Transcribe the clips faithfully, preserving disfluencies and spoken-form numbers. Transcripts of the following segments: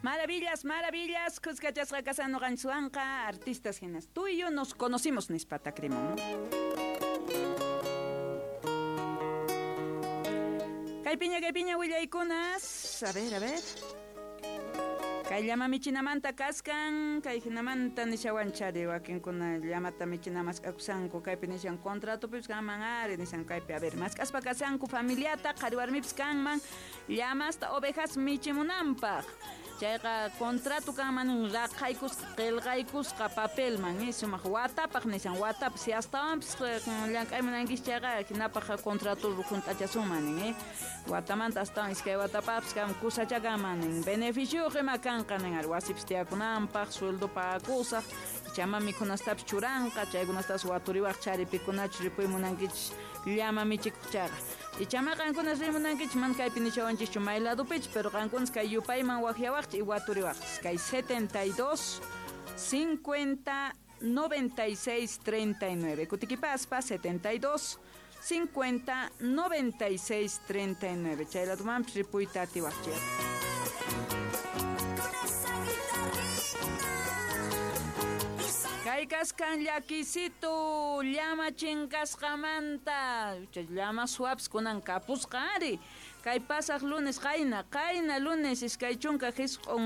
Maravillas, maravillas, kuskachasqa kasan noqanchikwanqa artistas hinas. Tú y yo nos conocimos nispa takrimun. Kaypiña, kaypiña willaykunas. A ver, a ver. Kay llama michinamanta kaskan, kay hinamanta nishawanchari wakinkuna llamata michina mask'akusanku, kaypi nishan contratopipis kanman ari nishan kaypi, a ver, mask'aspa kasanku familiata qhari warmipis kanman llamasta ovejas michimunanpaq. Chayqa contrato kanman raqaykusqa qillqaykusqa papelman, eh, sumaq watapaq nishan, watapaq si astawanpis llank'aymunankichis chayqa hinapaq contrato hunt'achasunman nin, eh. Watamanta astawan iskay watapaqpis kan kusacha kanman nin, beneficioyuq ima kanqa nin ari wasipis tiyakunanpaq, sueldo pagakusaq, ichama mikhunastapis churanqa, chaykunastapas waturiwaq chari pikunachus ripuy munankichis llama michikuq chayqa. Ichama qankuna rimunankichis mana kaypi nishawanchischu may ladopichis, pero qankunas kay yupayman waqyawaqchis y waturiwaqchis. Kay setenta y dos, cincuenta, noventa y seis, treinta y nueve. Kutikipaspa setenta y dos, cincuenta, noventa y seis, treinta y nueve. Chay ladomanpis ripuyta atiwaqchis. Kay kaskan llakisitu llama chinkasqamanta, chay llama suaps kunan kapusqa ari. Kay pasaq lunes qayna, qayna lunes iskay chunka jisq'un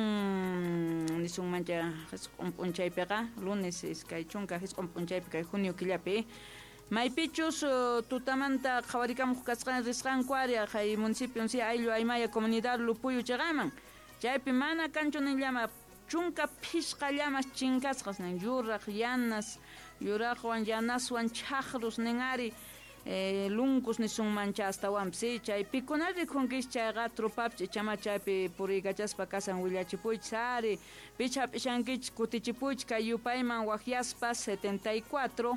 nisunmancha jisq'un p'unchaypiqa, lunes iskay chunka jisq'un p'unchaypi kay junio killapi. Maypichus, uh, tutamanta qhawarikamuq kasqan risqanku ari kay municipio si ayllu aymaya comunidad Lupuyu chaqaman. Chaypi mana kanchu nin llama chunka phisqa llamas chinkasqas nin yuraq yanas, yuraqwan yanaswan chaqrus nin ari, eh, lunkus nisunmancha astawanpis, sí, chay pikuna rikunkis chayqa trupapis ichama chaypi puriykachaspa kasan willachipuychis ari, picha hap'ishankichis kutichipuychis kay yupayman waqyaspa setenta y cuatro